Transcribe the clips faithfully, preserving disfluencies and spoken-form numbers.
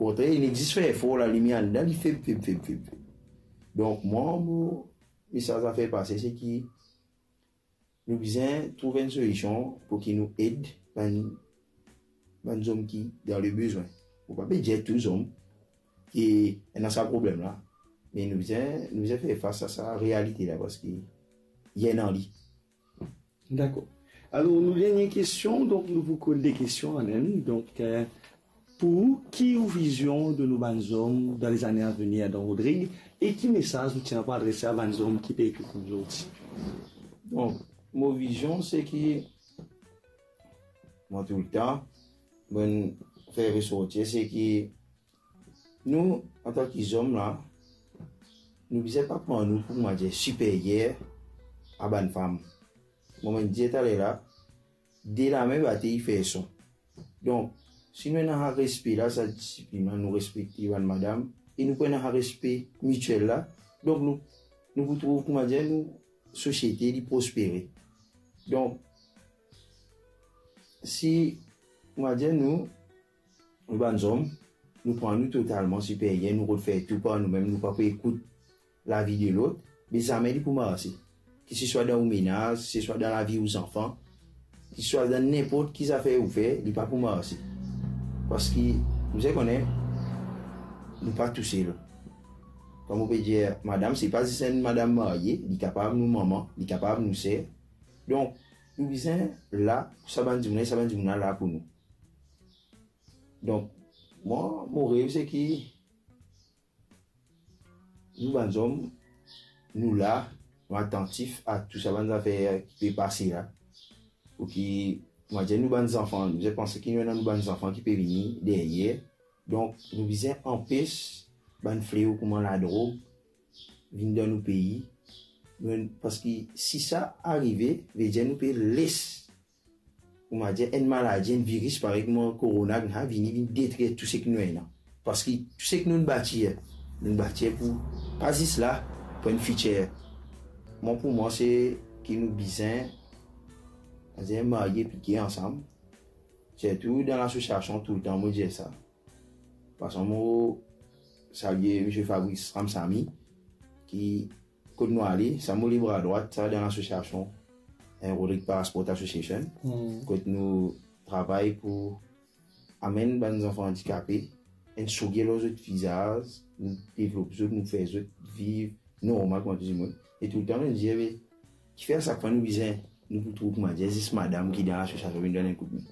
Kontrarman, li zis fer for, lalimier anndan li feb, feb, feb, feb, feb. Donk, mwa, mo mesaz a fer pase, se ki nou bizin trouv enn solision pou ki nou ed bann, bann zom ki dan lebezwin. Mo pa pe dir tou zom ki ena sa problem la, me nou bizin, nou bizin fer fas a sa realite la, parski li ena li. Dakor. Alor, nou dernie kestion, donk nou pou koz de kestion, Alan. Donk, eh, pou ou, ki ou vizion de nou bann zom dan lezane avenir dan Rodrig, e ki mesaz ou ti ena pou adrese a bann zom ki pe ekout nou zordi? Donk, mo vizion, se ki, mwa toultan, mo fer resorti, se ki nou, antan ki zom la, nou bizin pa pran nou pou, koumadir, siperyer a bann fam. Mo mem dir taler la, de lame bate i fer son. Donk, si nou ena sa respe la, sa disiplin la, nou respekte bann madam, e nou pou ena sa respe mitiel la, donk nou, nou pou trouv, koumadir, nou sosiete li prospere. Donk, si, koumadir, nou, nou bann zom, nou pran nou totalman siperyer, nou rod fer tou par noumem, nou pa pou ekout lavi de lot, be zame li pou marse. Ki se swa dan ou menaz, se swa dan lavi ou zanfan, ki se swa dan ninport ki zafer ou fer, li pa pou marse. Parski, nou bizin kone, nou pa tousel. Kouma mo pe dir, madam, se pa zis enn madam marye, li kapav nou manman, li kapav nou ser. Donk, nou bizin la pou sa bann dimoun la, e sa bann dimoun la la pou nou. Donk, mwa, mo rev se ki nou bann zom, nou la, nou atantif a tou sa bann zafer ki pe pase la. Pou ki, mo dir nou bann zanfan, nou bizin panse ki nou ena nou bann zanfan ki pe vini deryer. Donk, nou bizin anpes bann fleo kouma ladrog vinn dan nou pei. Nou, parski si sa arive, vedir nou pe les, koumadir, enn maladi, enn viris parey kouma korona, vinn, vini, vinn detrir tou seki nou ena. Parski tou seki nou batir, nou batir pou, pa zis la, pou enn fitir. Mwa, pou mwa, se ki nou bizin, koumadir, marye pike ansam. Sirtou dan lasosiasion, toultan mo dir sa. Paski mo salie misie Fabrice Ramsamy, ki, kot nou ale, sa mo lebra drwat, sa dan lasosiasion, eh, Rodrig Para Sport Association, Hmm. kot nou travay pou amenn bann zanfan andikape enn souri lor zot vizaz, nou devlop zot, nou fer zot viv normal kouma tou dimoun. E toultan, nou dir, be, kifer sak fwa nou bizin, nou pou trouv, koumadir, zis madam ki dan lasosiasion vinn donn enn koudme?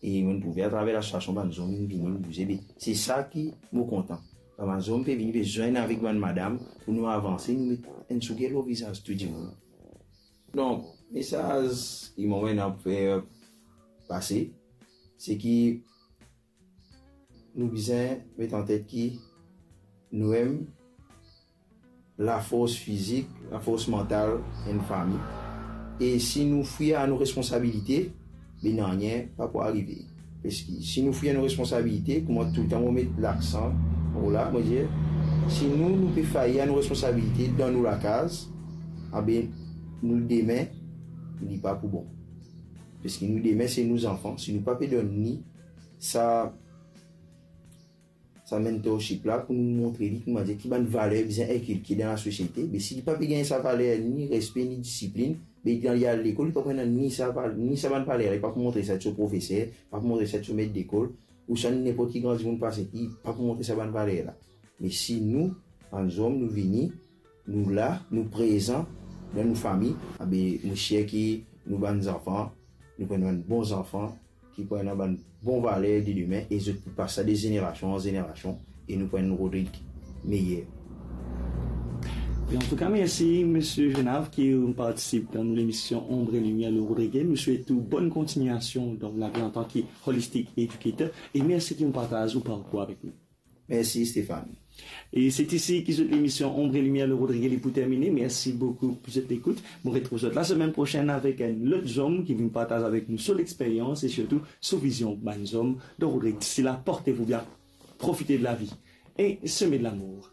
E nou trouve atraver lasosiasion bann zom vinn vini, nou bouze, be, se sa ki mo kontan. Bann zom pe vini, pe zwenn avek bann madam pou nou avanse, nou met enn souri lor vizaz tou dimoun. Donk, mesaz ki mo ena pou fer pase, se ki nou bizin met an tet ki nou mem lafors fizik, lafors mantal enn fami. E si nou fwir a nou responsabilite, be nanye pa pou arive. Parski si nou fwir a nou responsabilite, kouma toultan mo met laksan lor la, mo dir, si nou, nou pe fail a nou responsabilite dan nou lakaz, abe nou dime, li pa pou bon. Parski nou dime, se nou zanfan, si nou pa pe donn li sa sa mentorship la pou nou montre li, koumadir, ki bann valer bizin inkilke dan lasosiete. Me si li pa pe gagn sa valer, ni respe, ni disiplin, be kan li al lekol, li pa pou ena ni sa val-, ni sa bann valer la, li pa pou montre sa so profeser, pa pou montre sa so met lekol, ouswa ninport ki gran dimoun pase, li pa pou montre sa bann valer la. Me si nou, bann zom, nou vini, nou la, nou prezan dan nou fami, abe, mo sir ki nou bann zanfan, nou pou enn bann bon zanfan, ki pou ena bann bon valer de dime, e zot pou pas sa de zenerasion an zenerasion, e nou pou enn Rodrig meyer. E antouka, mersi, misie Genav, ki ou partisip dan nou lemision Ombre et Lumière le Rodrigué. Nou swet ou bonn kontignasion dan lavi antan ki holistic educator, e mersi ki ou partaz ou parkour avek nou. Mersi, Stéphane. E se isi ki zot lemision Ombre et Lumière le Rodrigué li pou termine. Mersi boukou pou zot lekout. Mo retrouv zot lasemenn prosenn avek enn lot zom ki vinn partaz avek nou so lexperyans e sirtou so vizion bann zom dan Rodrig. Disi la, porte-vous bien, profite de la vie et semez de l'amour.